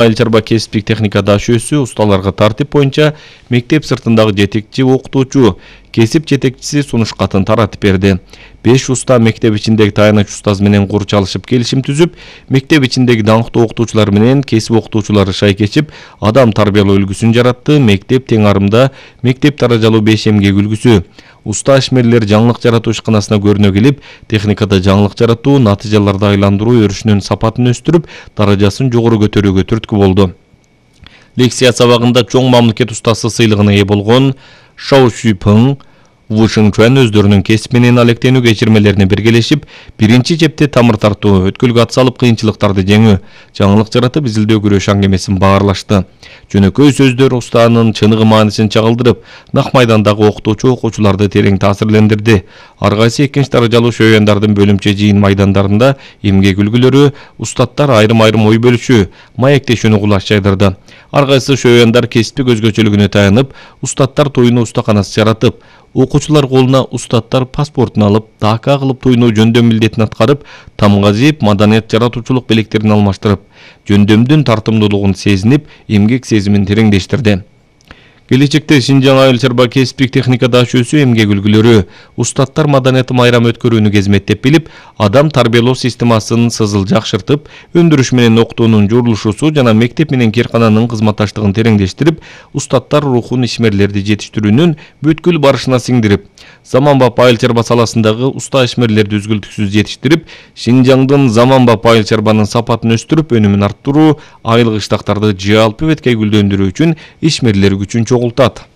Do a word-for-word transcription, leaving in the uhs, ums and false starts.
Айыл чарба кесиптик техника дашөөсү усталарга тартип боюнча мектеп сыртындагы жетекчи окутуучу кесип жетекчиси сунуш катын таратып берди. беш уста мектеп ичиндеги таяныч устаз менен кур чалышып келишим түзүп, мектеп ичиндеги даңктуу окутуучулар менен кесип окутуучулары шайкечип, адам тарбиялоо үлгүсүн жаратты. Мектеп тең арымда мектеп даражалуу беш эмгек үлгүсү. Уста ишмерлер жаңылык жаратуу ишканасына көрүнө келип, техникада жаңылык жаратуу, натыйжаларды айландыруу өрүшүнүн сапатын өстүрүп, даражасын жогору көтөрүүгө түрткү болду. Лекция сабагында чоң мамлекет устасы сыйлыгына ээ болгон Шау Шүйпың, Ву Шыңчуан өздөрүнүн кесип менен алектенүү кечирмелерине биргелешип, биринчи чепте тамыр тартуу, өткөлгө ат салып кыйынчылыктарды жеңүү, жаңылык жаратып изилдөө күрөш аңгемесин баарлашты. Жөнөкөй сөздөр устанын чыныгы маанисин чагылдырып, нак майдандагы окутуучу окуучуларды терең таасирлендирди. Ар кайсы экинчи даражалуу шөйөндардын бөлүмчө жыйын майдандарында эмгек үлгүлөрү, устаттар айрым-айрым ой бөлүшүү, маектешүүнү кулаш жайдырды. Ар кайсы шөйөндар кесиптик өзгөчөлүгүнө таянып, устаттар туйуну устаканасы жаратып, окуучулар колуна устаттар паспортун алып, дака кылып туйуну жөндөм милдетин аткарып, тамгазип, маданият жаратуучулук белектерин алмаштырып, жөндөмдүн тартымдуулугун сезинип, эмгек сезимин тереңдештирди. Келечекте Шинжаң айыл чарба кесиптик техника дашөөсү эмгек үлгүлөрү, устаттар маданиятын майрам өткөрүүнү кезметтеп билип, адам тарбиялоо системасын сызыл жакшыртып, өндүрүш менен окутуунун журулушусу жана мектеп менен кээркананын кызматташтыгын тереңдештирип, устаттар рухун ишмерлерди жетиштирүүнүн бүткүл барышына сиңдирип, заманбап айыл чарба саласындагы уста ишмерлерди үзгүлтүксүз жетиштирип, Шинжаңдын заманбап айыл чарбанын сапатын өстүрүп, өнүмүн арттыруу, айыл кыштактарды жалпы беткей гүлдөндүрүү үчүн ишмерлер күчүн чогултат.